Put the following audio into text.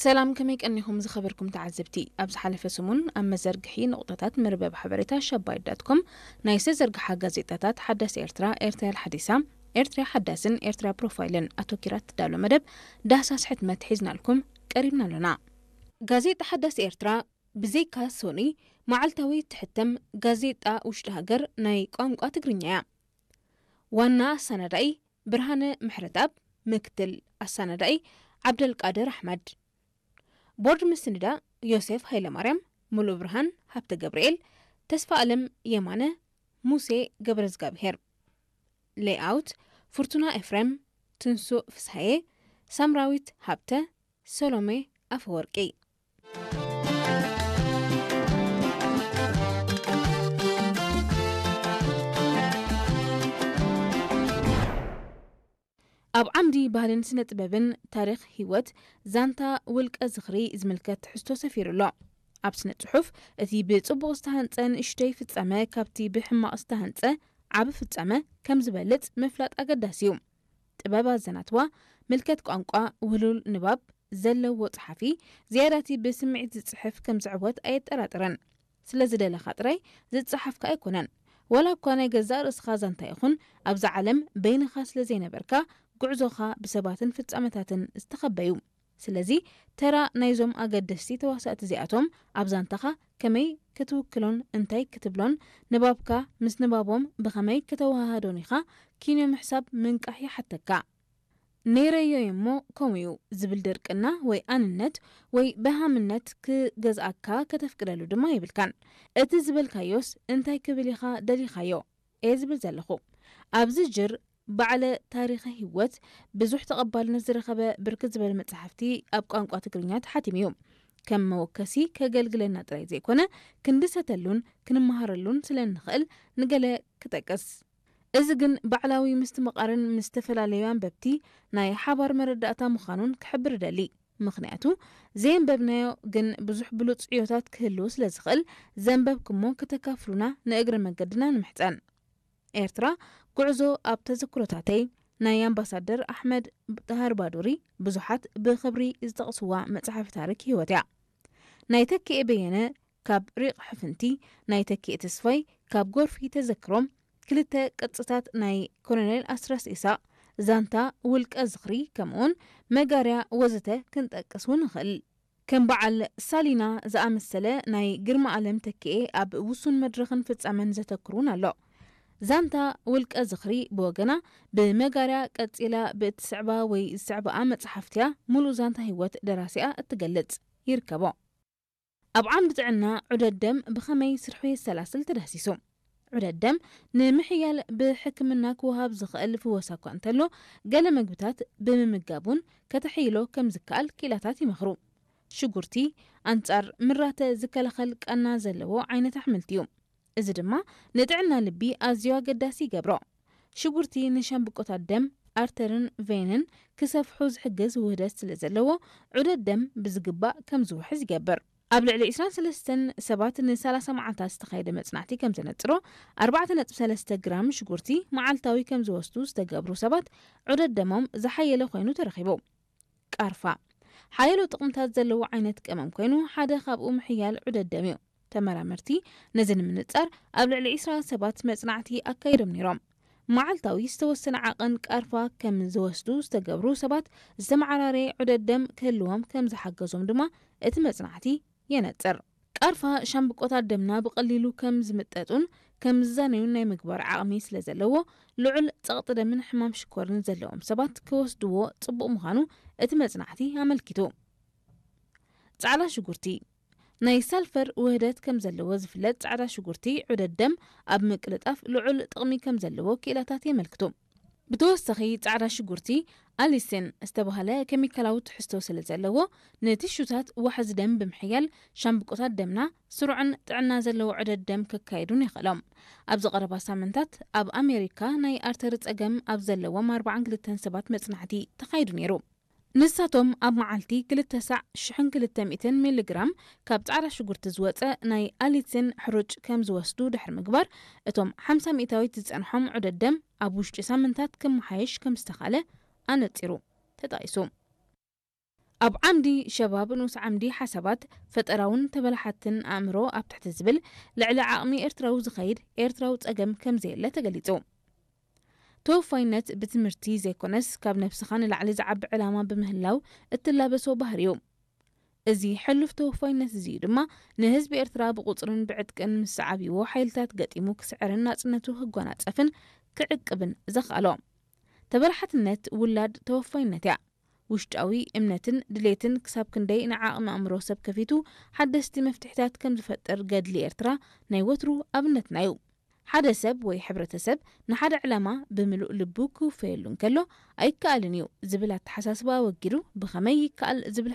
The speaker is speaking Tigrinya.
ሰላም፣ ከመይ ቀኒኹም ዝኸበርኩም ተዓዘብቲ? ኣብ ዝሓለፈ ሰሙን ኣብ መዘርግሒ ነቑጣታት መርበብ ሓበሬታ ሸባይት ዳት ኮም ናይ ዝተዘርግሓ ጋዜጣታት ሓዳስ ኤርትራ፣ ኤርትራ ሓዲሳ፣ ኤርትራ ሓዳስን ኤርትራ ፕሮፋይልን ኣተኪራ ትዳሎ መደብ ዳህሳስ ሕትመት ሒዝናልኩም ቀሪብና ኣሎና። ጋዜጣ ሓዳስ ኤርትራ ብዘይካ ሶኒ መዓልታዊ ትሕተም ጋዜጣ ውሽጢ ሃገር ናይ ቋንቋ ትግርኛ እያ። ዋና ኣሰናዳኢ ብርሃነ ምሕረትኣብ፣ ምክትል ኣሰናዳኢ ዓብደልቃድር ኣሕመድ፣ ቦርድ ምስንዳ ዮሴፍ ሃይለማርያም፣ ሙሉእ ብርሃን ሃብተ ገብርኤል፣ ተስፋ ኣለም የማነ፣ ሙሴ ገብረዝጋብሄር፣ ሌይኣውት ፍርቱና ኤፍሬም፣ ትንሱእ ፍስሃየ፣ ሳምራዊት ሃብተ፣ ሰሎሜ ኣፈወርቂ። ኣብ ዓምዲ ባህልን ስነ ጥበብን ታሪኽ ህይወት ዛንታ ውልቀ ዝኽሪ ዝምልከት ትሕዝቶ ሰፊሩ ኣሎ። ኣብ ስነ ጽሑፍ እቲ ብጽቡቕ ዝተሃንጸ ንእሽተይ ፍጻመ ካብቲ ብሕማቕ ዝተሃንጸ ዓቢ ፍጻመ ከም ዝበልጽ ምፍላጥ ኣገዳሲ እዩ። ጥበብ ኣዘናትዋ፣ ምልከት ቋንቋ፣ ውህሉል ንባብ ዘለዎ ጸሓፊ ዝያዳቲ ብስምዒት ዝጽሕፍ ከም ዝዕወት ኣየጠራጥርን። ስለ ዝደለኻ ጥራይ ዝጸሓፍካ ኣይኮነን። ዋላ እኳ ናይ ገዛእ ርእስኻ ዛንታ ይኹን ኣብዛ ዓለም በይንኻ ስለ ዘይነበርካ፣ ጉዕዞኻ ብሰባትን ፍጻመታትን ዝተኸበዩ። ስለዚ ተራ ናይዞም ኣገደስቲ ተዋሳእቲ እዚኣቶም ኣብ ዛንታኻ ከመይ ክትውክሎን እንታይ ክትብሎን፣ ንባብካ ምስ ንባቦም ብኸመይ ከተወሃሃዶን ኢኻ ኪንዮ ምሕሳብ ምንቃሕ ይሓተካ። ነይረዮ እሞ ከምኡ እዩ ዝብል ድርቅና ወይ ኣንነት ወይ በሃምነት ክገዝኣካ ከተፍቅደሉ ድማ የብልካን። እቲ ዝበልካዮስ እንታይ ክብል ኢኻ ደሊኻዮ እየ ዝብል ዘለኹ። ኣብዚ ጅር ባዕለ ታሪኸ ህይወት ብዙሕ ተቐባልነት ዝረኸበ ብርክት ዝበለ መጻሕፍቲ ኣብ ቋንቋ ትግርኛ ተሓቲሙ እዩ። ከም መወከሲ ከገልግለና ጥራይ ዘይኮነ፣ ክንድሰተሉን ክንመሃረሉን ስለ እንኽእል ንገለ ክጠቅስ። እዚ ግን ባዕላዊ ምስትምቓርን ምስ ዝተፈላለዩ ኣንበብቲ ናይ ሓባር መረዳእታ ምዃኑን ክሕብር እደሊ። ምኽንያቱ፣ ዘየንበብናዮ ግን ብዙሕ ብሉጽ ዕዮታት ክህልው ስለ ዝኽእል፣ ዘንበብኩሞ ከተካፍሉና ንእግረ መገድና ንምሕጸን። ኤርትራ፣ ጉዕዞ ኣብ ተዘክሮታተይ፣ ናይ ኣምባሳደር ኣሕመድ ጣህር ባዱሪ ብዙሓት ብኽብሪ ዝጠቕስዋ መጽሓፍ ታሪኽ ህይወት እያ። ናይ ተኪኤ በየነ ካብ ሪቕ ሕፍንቲ፣ ናይ ተኪኤ ተስፋይ ካብ ጎርፊ ተዘክሮም፣ ክልተ ቅርጽታት ናይ ኮሎኔል ኣስረስ ኢሳቕ፣ ዛንታ ውልቀ ዝኽሪ፣ ከምኡውን መጋርያ ወዘተ ክንጠቅስ እውን ንኽእል። ከም በዓል ሳሊና ዝኣመሰለ ናይ ግርማ ኣለም ተኪኤ ኣብ ውሱን መድረኽን ፍጻመን ዘተክር እውን ኣሎ። ዛንታ ውልቀ ዝኽሪ ብወገና ብመጋርያ ቀጺላ ብእትስዕባ ወይ ዝስዕባኣ መጽሓፍትያ ሙሉእ ዛንታ ህይወት ደራሲኣ እትገልጽ ይርከቦ። ኣብ ዓምዲ ጥዕና ዑደት ደም ብኸመይ ስርሑ የሰላስል ተዳህሲሱ። ዑደት ደም ንምሕያል ብሕክምና ክወሃብ ዝኽእል ፍወሳ እኳ እንተሎ፣ ገለ መግብታት ብምምጋብ እውን ከተሕይሎ ከም ዝከኣል ክኢላታት ይመኽሩ። ሽጉርቲ ኣንጻር ምራተ ዝከላኸል ቃና ዘለዎ ዓይነት ኣሕምልቲ እዩ። እዚ ድማ ንጥዕና ልቢ ኣዝዩ ኣገዳሲ ይገብሮ። ሽጉርቲ ንሻምብቆታት ደም፣ ኣርተርን ቬንን ክሰፍሑ ዝሕግዝ ውህደት ስለ ዘለዎ፣ ዑደት ደም ብዝግባእ ከም ዝውሕዝ ይገብር። ኣብ ልዕሊ ዕስራን ሰለስተን ሰባት ን30 መዓልታት ዝተኻየደ መጽናዕቲ ከም ዘነጽሮ፣ ኣርባዕተ ነጥቢ ሰለስተ ግራም ሽጉርቲ መዓልታዊ ከም ዝወስዱ ዝተገብሩ ሰባት ዑደት ደሞም ዝሓየለ ኮይኑ ተረኺቡ። ቃርፋ ሓያሎ ጥቕምታት ዘለዎ ዓይነት ቀመም ኮይኑ፣ ሓደ ካብኡ ምሕያል ዑደት ደም እዩ። ተመራመርቲ ነዚ ንምንጻር ኣብ ልዕሊ ዕስራ ሰባት መጽናዕቲ ኣካይዶም ነይሮም። መዓልታዊ ዝተወሰነ ዓቐን ቃርፋ ከም ዝወስዱ ዝተገብሩ ሰባት ዝተመዓራረየ ዑደት ደም ክህልዎም ከም ዝሓገዞም ድማ እቲ መጽናዕቲ የነጽር። ቃርፋ ሻምብቆታት ደምና ብቐሊሉ ከም ዝምጠጡን ከም ዝዛነዩን ናይ ምግባር ዓቕሚ ስለ ዘለዎ፣ ልዑል ጸቕጢ ደምን ሕማም ሽኮርን ዘለዎም ሰባት ክወስድዎ ጽቡቕ ምዃኑ እቲ መጽናዕቲ ኣመልኪቱ። ጻዕዳ ሽጉርቲ ናይ ሳልፈር ውህደት ከም ዘለዎ ዝፍለጥ ጻዕዳ ሽጉርቲ ዑደት ደም ኣብ ምቅልጣፍ ልዑል ጥቕሚ ከም ዘለዎ ክኢላታት የመልክቱ። ብተወሳኺ ጻዕዳ ሽጉርቲ ኣሊሲን ዝተባህለ ኬሚካላዊ ትሕዝቶ ስለ ዘለዎ፣ ንቲሹታት ዋሕዚ ደም ብምሕያል ሻምብቆታት ደምና ስሩዕን ጥዕና ዘለዎ ዑደት ደም ከካይዱን የኽእሎም። ኣብዚ ቀረባ ሳምንታት ኣብ ኣሜሪካ ናይ ኣርተሪ ጸገም ኣብ ዘለዎም ኣርባዓን ክልተን ሰባት መጽናዕቲ ተኻይዱ ነይሩ። ንሳቶም ኣብ መዓልቲ ክልተ ሳዕ ሽሕን ክልተ ሚእትን ሚሊግራም ካብ ጻዕዳ ሽጉርቲ ዝወጸ ናይ ኣሊሲን ሕሩጭ ከም ዝወስዱ ድሕሪ ምግባር፣ እቶም ሓምሳ ሚእታዊት ዝጸንሖም ዑደት ደም ኣብ ውሽጢ ሳምንታት ክመሓየሽ ከም ዝተኻለ ኣነጺሩ ተጠቒሱ። ኣብ ዓምዲ ሸባብ ንኡስ ዓምዲ ሓሳባት ፈጠራውን ተበላሓትን ኣእምሮ ኣብ ትሕቲ ዝብል ልዕሊ ዓቕሚ ኤርትራዊ ዝኸይድ ኤርትራዊ ጸገም ከም ዘየለ ተገሊጹ። ተወፋይነት ብትምህርቲ ዘይኮነስ ካብ ነብስኻ ንላዕሊ ዝዓቢ ዕላማ ብምህላው እትላበሶ ባህሪ እዩ። እዚ ሕሉፍ ተወፋይነት እዚ እዩ ድማ ንህዝቢ ኤርትራ ብቁጽርን ብዕጥቅን ምስ ዝዓብይዎ ሓይልታት ገጢሙ ክስዕርን ናጽነቱ ክጎናጸፍን ክዕቅብን ዘኽኣሎ። ተበላሓትነት ውላድ ተወፋይነት እያ። ውሽጣዊ እምነትን ድሌትን ክሳብ ክንደይ ንዓቕሚ ኣእምሮ ሰብ ከፊቱ ሓደስቲ መፍትሒታት ከም ዝፈጥር ገድሊ ኤርትራ ናይ ወትሩ ኣብነትና እዩ። ሓደ ሰብ ወይ ሕብረተሰብ ንሓደ ዕላማ ብምሉእ ልቡ ክውፈየሉ እንከሎ ኣይከኣልን እዩ ዝብል ኣተሓሳስባ ኣወጊዱ ብኸመይ ይከኣል ዝብል